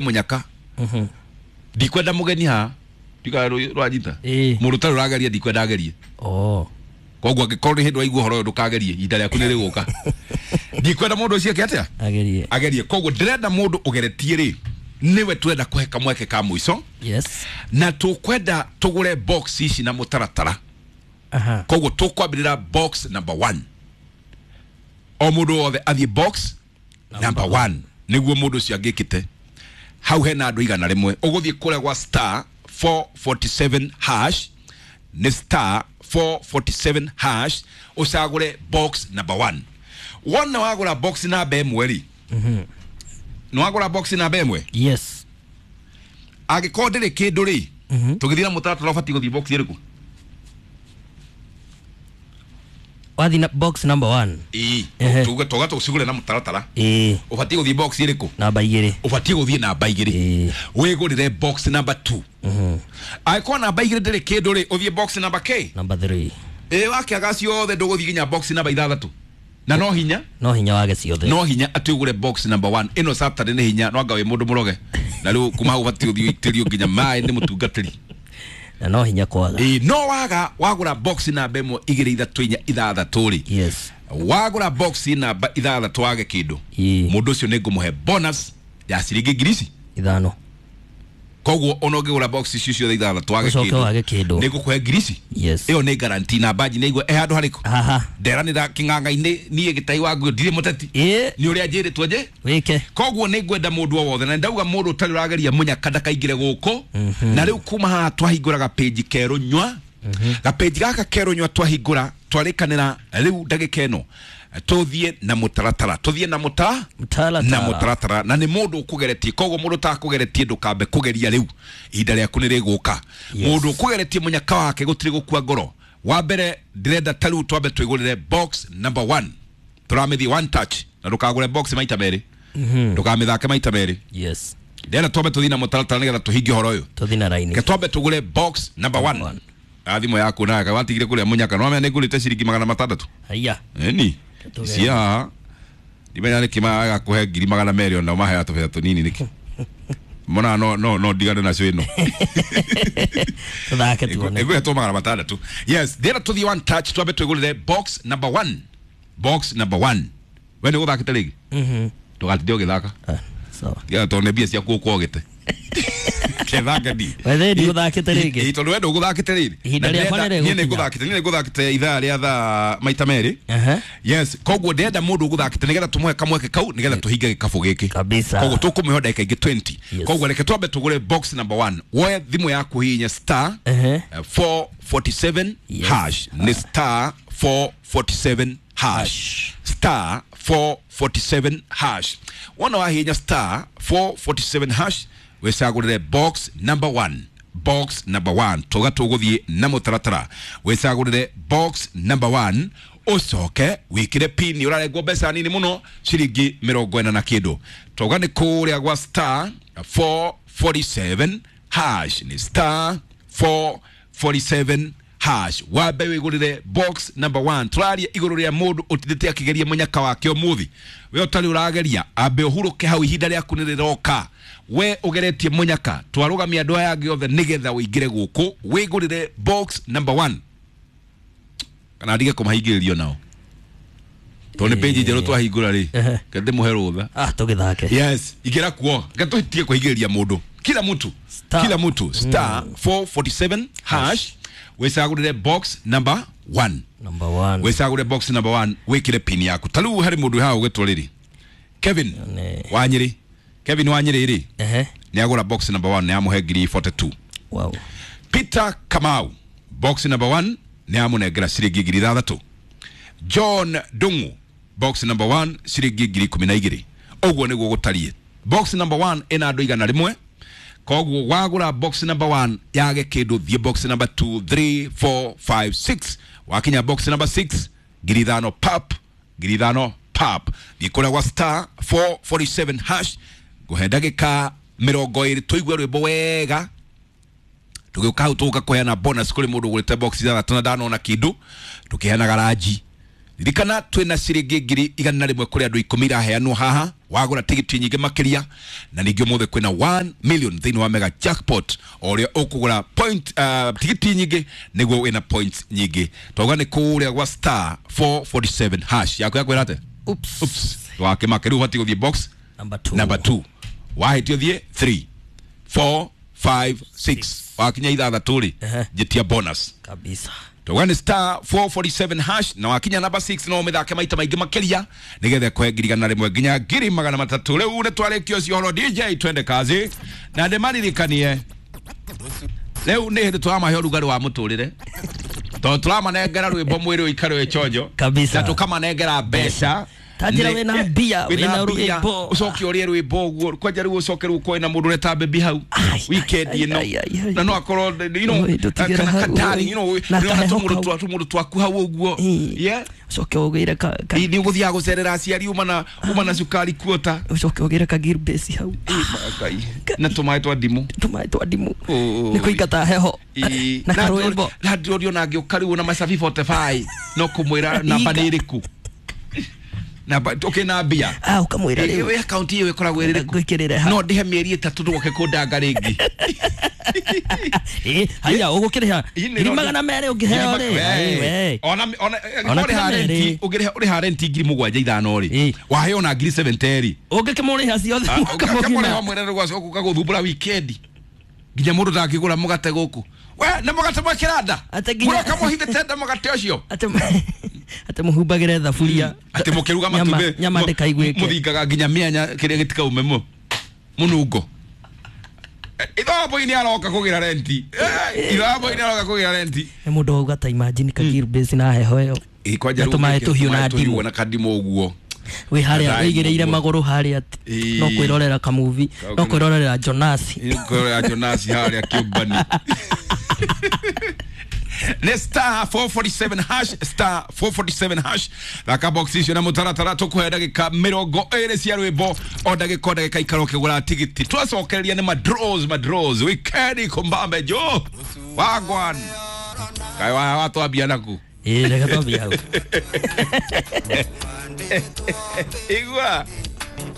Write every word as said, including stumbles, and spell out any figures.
Munyaka ndikwenda mugeni ha ndika rwanyita mundu tari urageria ndikwenda agerie. Oh, koguo angikorwo ni hindi waigua horo ndukagerie ihinda riaku ni riguka. Ndikwenda mundu ucio eke atia agerie agerie. Koguo ndirenda mundu ugeretie ri niwe twenda kuhe kamweke ka muico. Yes, na tukwenda tugure box ici na mutaratara. Aha, koguo tukwambirira box number one. O mundu wothe athie box number one niguo mundu ucio angikite hau hena andu igana rimwe. Uguthie kuria gwa star four forty-seven hash, ni star four forty-seven hash, ucagure box number one. Wona wagura box namba ĩmwe ri, mhm, ni wagura box namba ĩmwe. Yes, angikorwo ndĩrĩ kĩndũ ri, mhm, tũgĩthiĩ na mũtaratara ũbatiĩ gũthiĩ box ĩrĩkũ? Wathi na box number one. Ĩĩ, Ehe. tuge toga tũcigũre na mũtaratara. Ĩĩ, ũbatiĩ gũthiĩ box ĩrĩkũ? Namba igĩrĩ. Ũbatiĩ gũthiĩ namba igĩrĩ. Ĩĩ. Wĩgũrĩre box number two. Mhm, angĩkorwo namba igĩrĩ ndĩrĩ kĩndũ rĩ, ũthiĩ box number K. Number three. Ĩĩ, wakĩaga ciothe ndũgũthiĩ nginya box number ithathatũ. Na no hinya no hinya wage ciothe, no hinya atĩ ũgũre box number one. Ĩno Saturday nĩ hinya, no anga wĩ mũndũ mũroge na rĩu kuma hau ũbatiĩ gũthiĩ ũitĩrio nginya maĩ nĩ mũtungatĩri. Na no hinya kwaga. Ĩĩ, no waga wagũra box namba ĩmwe igĩrĩ ithatũ inya ithathatũ rĩ, Yes, wagũra box namba ithathatũ wage kĩndũ, ĩĩ, mũndũ ũcio nĩ ngũmũhe bonus ya ciringi ngiri ici ithano. Koguo ona ũngĩgũra box icio ciothe ithathatũ wage Ũcoke kĩndũ, wage kĩndũ, nĩ ngũkũhe ngiri ici. Yes, ĩyo nĩ guarantee. Na mbanji nĩ igua ĩ handũ harĩkũ? Haha. Nderanĩra kĩng'ang'a-inĩ niĩ gĩtai wa nguo ndirĩ mũteti, ĩĩ, nĩ ũrĩa njĩrĩtwo nje wĩke. Koguo nĩ ngwenda mũndũ o wothe, na ndauga mũndũ ũtarĩ ũrageria mũnyaka ndakaingĩre gũkũ. Na rĩu kuma haha twahingũra gapĩnji kerũ nywa, gapĩnji gaka kerũ nywa twahingũra twarĩkanĩra rĩu ndagĩka ĩno tũthiĩ na mũtaratara, tũthiĩ na mũta Mũtaratara. na mũtaratara, na nĩ mũndũ ũkũgeretie. Koguo mũndũ ũtakũgeretie ndũkambe kũgeria rĩu, ihinda rĩaku nĩ rĩgũka. Yes. Mũndũ ũkũgeretie mũnyaka wake gũtirĩ gũkua ngoro. Wa mbere ndĩrenda ta rĩu twambe twĩgũrĩre box number one, tũramĩthiĩ one touch, na ndũkagũre box maita merĩ, Mhm, ndũkamĩthake maita merĩ. Yes, Ndĩrenda twambe tũthiĩ na mũtaratara nĩgetha tũhingie ũhoro ũyũ. tũthiĩ na raini. Reke twambe tũgũre box number one. One. A thimũ yaku nawe watigire kũrĩa mũnyaka, no wamenya nĩ ngũrĩte ciringi magana matandatũ. Haiya, Eni Tũgere. cia haha ndimenya nĩkĩ magakũhe ngiri magana merĩ ona maheaga tũbeca tũnini nĩkĩ mona no no no ndigane nacio ĩno. Tũthake tuone. Ĩgũhetwo magana matandatũ. Yes, ndĩrenda tũthiĩ one touch, twambe twĩgũrĩre box number one. Box number one, we nĩ ũgũthakĩte rĩngĩ? Mhm, ndũgatinde ũgĩthaka. Ah, sawa. Tiga tondũ nĩ mbia ciaku ũkwogete kethanga ndi Wethe ndigũthakĩte rĩngĩ. Ĩ, tondũ we ndũgũthakĩte rĩrĩ. Ihinda Na rĩakwa ndĩrenda- nĩ niĩ rĩgũkinya. nĩngũthakĩte, niĩ nĩngũthakĩte ithaa rĩa thaa maita merĩ. Aha, Yes, koguo ndĩrenda mũndũ ũgũthakĩte nĩgetha tũmũhe kamweke kau nĩgetha tũhinge gĩkabũ gĩkĩ. Kabisa. Koguo tũkũmĩho ndagĩka ingĩ twenty. Yes. Koguo reke twambe tũgũre box number one. Woe thimũ yaku hihinye star Ehe. eh, four forty-seven Yes. hash, nĩ star four forty-seven hash, star four forty-seven hash. Wona wahihinya star four forty-seven hash, wĩcagũrĩre box number one. Box number one, tuga tũgũthiĩ na mũtaratara, wĩcagũrĩre box number one, ũcoke wĩkĩre pin. Ũrarengwo mbeca nini mũno, ciringi mĩrongo ĩna na kĩndũ. Twauga nĩ kũrĩa gwa star four forty-seven hash, nĩ star four forty-seven hash, wambe wĩgũrĩre box number one. Tũraria igũrũ rĩa mũndũ ũtindĩte akĩgeria mũnyaka wake ũmũthĩ. We ũtarĩ ũrageria ambe ũhurũke hau, ihinda rĩaku nĩ rĩroka. We ũgeretie mũnyaka, twarũgamia andũ aya angĩ othe nĩgetha ũingĩre gũkũ wĩgũrĩre box number one, kana ndige kũmahingĩrĩrio nao tondũ nĩ page njerũ twahingũra rĩ. Ehe. Reke ndĩmũhe rũtha. Ah, tũgĩthake. Yes, ingĩra kuo, reke tũtige kũhingĩrĩria mũndũ. Kila mtu, Star. kila mtu star four forty-seven hash, wĩcagũrĩre box number one. Number one. Wĩcagũre box number one, wĩkĩre pin yaku. Ta rĩu harĩ mũndũ haha ũgĩtwo rĩrĩ Kevin Nĩ- Wanyĩrĩ. Kevin Wanyĩrĩ rĩ, Ehe, nĩ agũra box number one, nĩ amũhe ngiri forty-two. Wow. Peter Kamau, box number one, nĩ amũnengera ciringi ngiri ithathatũ. John Dungu, box number one, ciringi ngiri ikũmi na igĩrĩ. Ũguo nĩguo gũtariĩ. Box number one ĩna andũ igana rĩmwe. Koguo wagũra box number one yage kĩndũ, thiĩ box number two, three, four, five, six. Wakinya box number six, ngiri ithano pap, ngiri ithano pap. Thiĩ kũrĩa gwa star four forty-seven hash. Ngũhe ndagĩka mĩrongo ĩrĩ tũigue rwĩmbo wega, tũgĩũka hau tũgũka kũheana bonus kũrĩ mũndũ ũgũrĩte box ithathatũ na ndanona kĩndũ, tũkĩheanaga ranji. Ririkana twina ciringi ngiri igana rimwe kuri andu ikumi iraheanwo haha wagura tigiti nyingi makiria na ningĩ ũmũthĩ kwĩna one million thĩinĩ wa mega jackpot o ũrĩa ũkũgũra point uh, tigiti nyingĩ nĩguo wĩna points nyingĩ. Twauga nĩ kũrĩa gwa star four forty-seven hash yaku yakwĩra atĩa? Oops. Oops. Wakĩmaka rĩu ũbatiĩ gũthiĩ box number two. Number two. Wahĩtia ũthiĩ three four five six. Wakinya ithathatũ rĩ njĩtia bonus kabisa. Twauga nĩ star four forty-seven hash na wakinya number six no ũmĩthake maita maingĩ makĩria nĩgetha kũhe ngiri igana rĩmwe nginya ngiri magana matatũ. Rĩu nĩ twarĩkia ũcio ũhoro. D J twende kazi na ndĩmaririkanie rĩu nĩ hĩndĩ tũramahe ũrugarĩ wa mũtũrĩre tondũ tũramanengera rwĩmbo mwĩrĩ ũikare wĩ chonjo kabisa na tũkamanengera mbeca. Tajira wena mbia wena rwĩmbo ucoke ũrĩe rwĩmbo ũguo kwanja rĩu ũcoke rĩu ũkorwo na mũndũ ũreta bebi hau weekend ĩno na no akorwo you know kana katari you know na tũmũndũ tũmũndũ twaku hau ũguo yeah ucoke ũgĩre ka nĩ ũgũthiaga gũcerera aciari uma na uma na cukari kuota ucoke ũgĩre ka gear base hau na tũmaĩ twa ndimũ tũmaĩ twa ndimũ nĩ kũingata heho na karwĩmbo na ndĩrorio na ngĩũka rĩu na macabi forty-five no kũmwĩra namba nĩ ĩrĩkũ na okay na mbia ah ukamwira rĩu we account iyo ikoragwo ĩrĩkũ ngwikirire no ndihe mĩeri ĩtatũ ndũgoke kũndanga rĩngĩ eh haya ũgũkĩrĩha ngiri magana merĩ ũngĩheo rĩ ona ona ũrĩha rent ũngĩrĩha ũrĩha rent ngiri mũgwanja ithano rĩ waheo na ngiri seventy rĩ ũngĩkĩmũrĩha ciothe mwaka mũgima ũkamũrĩha mwĩre rĩu ũka gũthumbũra weekend nginya mũndũ ndangĩgũra mũgate gũkũ we na mũgate mwĩkĩra mũroka mũhithĩte nda mũgate ũcio ate muhumbagire thaburia ate mukiruga matumbi nyama ndikaiguike muthingaga nginya mianya kiria gitikaume mu munungo ithobo ini aroka kugira renti ithobo ini aroka kugira renti e mundu auga ta imagine ka gear base na heho yo kwanja tumae tuhiu na ndimu na kandimu uguo wi haria wigiriire maguru haria no kwirorera ka movie no kwirorera Jonas kwirorera Jonas haria kiumbani. Ne star four forty-seven hash star four forty-seven hash thaka box icio na mutaratara tukuhe ndagika mirongo ĩrĩ cia rwĩmbo o ndagika o ndagika ikara ũkĩgũra tigiti twacokereria nĩ madraws madraws weekend kumbambe jo wagwan kai wa watwambia naku ĩ reke twambia hau igua.